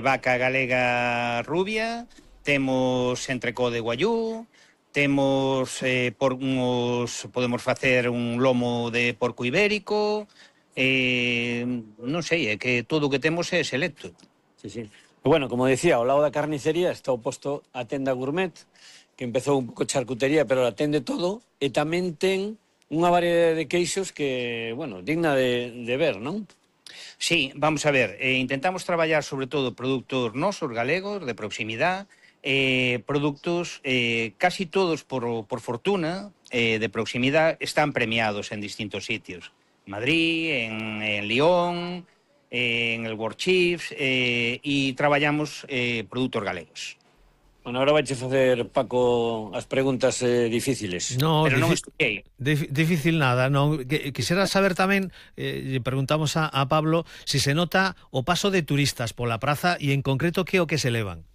vaca galega rubia, temos entrecó de guayú, temos podemos facer un lomo de porco ibérico, non sei, é que todo o que temos é selecto. Sí, sí. Bueno, como decía, ao lado da carnicería está o posto a tenda gourmet, que empezou un pouco charcutería, pero atende todo, e tamén ten unha variedade de queixos que, bueno, digna de ver, non? Sí, vamos a ver, intentamos traballar sobre todo produtos nosos galegos, de proximidade, produtos casi todos por fortuna de proximidade están premiados en distintos sitios. En Madrid, en Lyon, en el World Chiefs, e traballamos produtos galegos. Bueno, ahora vaiche facer, Paco, as preguntas difíciles. No, pero non estudiei. Difícil nada, non. Quixera saber tamén, lle preguntamos a Pablo, si se nota o paso de turistas pola praza e en concreto que o que se levan.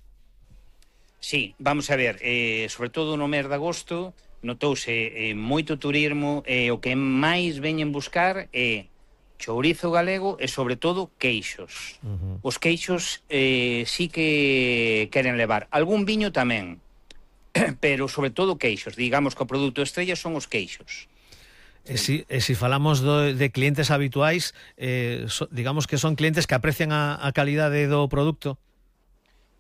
Sí, vamos a ver, sobre todo no mes de agosto notouse moito turismo, o que máis veñen buscar é chourizo galego e sobre todo queixos. Os queixos sí que queren levar, algún viño tamén, pero sobre todo queixos, digamos que o produto estrella son os queixos. E si falamos de clientes habituais, digamos que son clientes que aprecian a calidade do produto?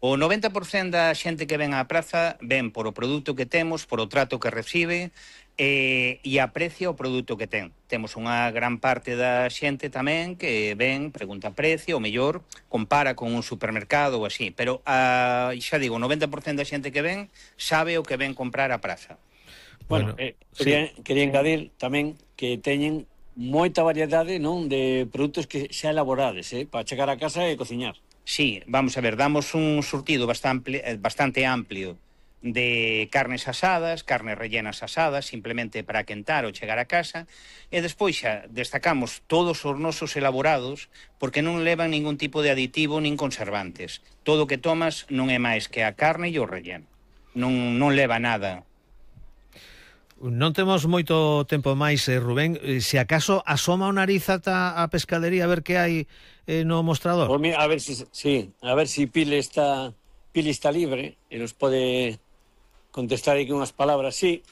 O 90% da xente que ven á praza ven por o produto que temos, por o trato que recibe e aprecia o produto que ten. Temos unha gran parte da xente tamén que ven, pregunta precio, o mellor compara con un supermercado ou así, pero xa digo, o 90% da xente que ven sabe o que ven comprar á praza. Bueno, quería engadir tamén que teñen moita variedade, non, de produtos que xa elaborades, para chegar a casa e cociñar. Sí, vamos a ver, damos un surtido bastante amplio de carnes asadas, carnes rellenas asadas, simplemente para quentar ou chegar a casa, e despois xa destacamos todos os nosos elaborados porque non levan ningún tipo de aditivo nin conservantes. Todo o que tomas non é máis que a carne e o relleno. Non leva nada. Non temos moito tempo máis, Rubén. Se acaso asoma o nariz ata a pescadería a ver que hai no mostrador. Pues mira, a ver si Pili está libre e nos pode contestar aquí unhas palabras. Sí,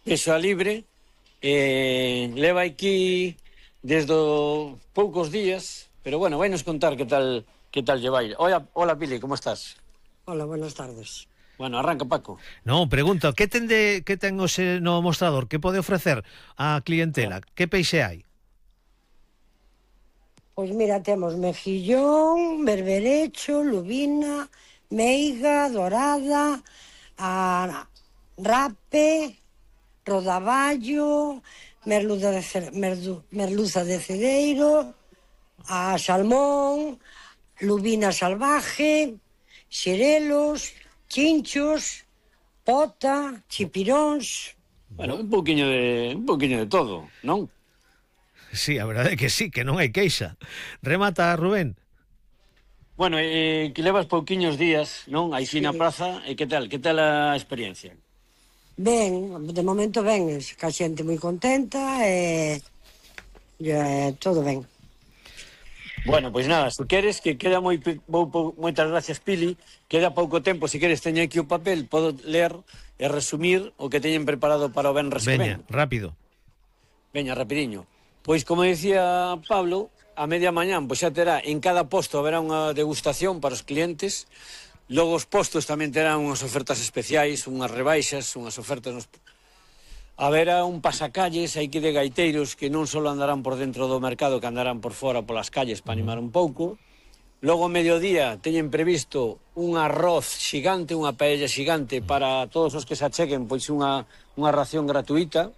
eso a libre. Leva aquí desde poucos días, pero bueno, vai nos contar que tal lle vai. Hola Pili, como estás? Hola, buenas tardes. Bueno, arranca, Paco. Non, pregunto, que ten hoxe no mostrador? Que pode ofrecer á clientela? Que peixe hai? Pois mira, temos mejillón, berberecho, lubina, meiga, dorada, rape, rodaballo, merluza de cedeiro, a salmón, lubina salvaje, xerelos, chinchos, pota, chipiróns. Bueno, un poquinho de todo, non? Sí, a verdade é que sí, que non hai queixa. Remata, Rubén. Bueno, que levas pouquiños días, non? Aí na praza, e que tal a experiencia? Ben, de momento ben, ca xente moi contenta e todo ben. Bueno, pois nada, se queres que queda moitas gracias, Pili, queda pouco tempo, se queres teño aquí o papel, podo ler e resumir o que teñen preparado para o venres que ven. Rápido. Veña, rapidiño. Pois como decía Pablo, a media mañán pois xa terá en cada posto haberá unha degustación para os clientes. Logo os postos tamén terán unhas ofertas especiais, unhas rebaixas, unhas ofertas haberá un pasacalles aquí de gaiteiros que non só andarán por dentro do mercado, que andarán por fora polas calles para animar un pouco. Logo ao mediodía teñen previsto un arroz xigante, unha paella xigante para todos os que se acheguen, pois unha ración gratuita.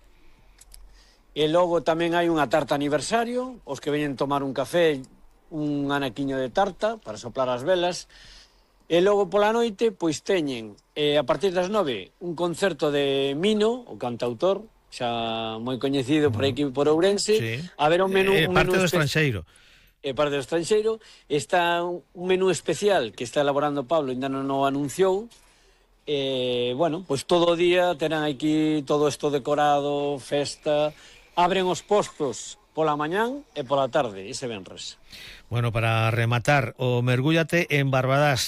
E logo tamén hai unha tarta aniversario, os que veñen tomar un café, un anaquiño de tarta para soplar as velas. E logo pola noite, pois teñen, a partir das 9, un concerto de Mino, o cantautor, xa moi coñecido por aquí por Ourense. Sí. A ver un menú... parte do estranxeiro. Parte do estranxeiro. Está un menú especial que está elaborando Pablo, ainda non o anunciou. Bueno, pois todo o día terán aquí todo isto decorado, festa. Abren os postos pola mañán e pola tarde, ese venres. Bueno, para rematar, o mergúllate en Barbadás.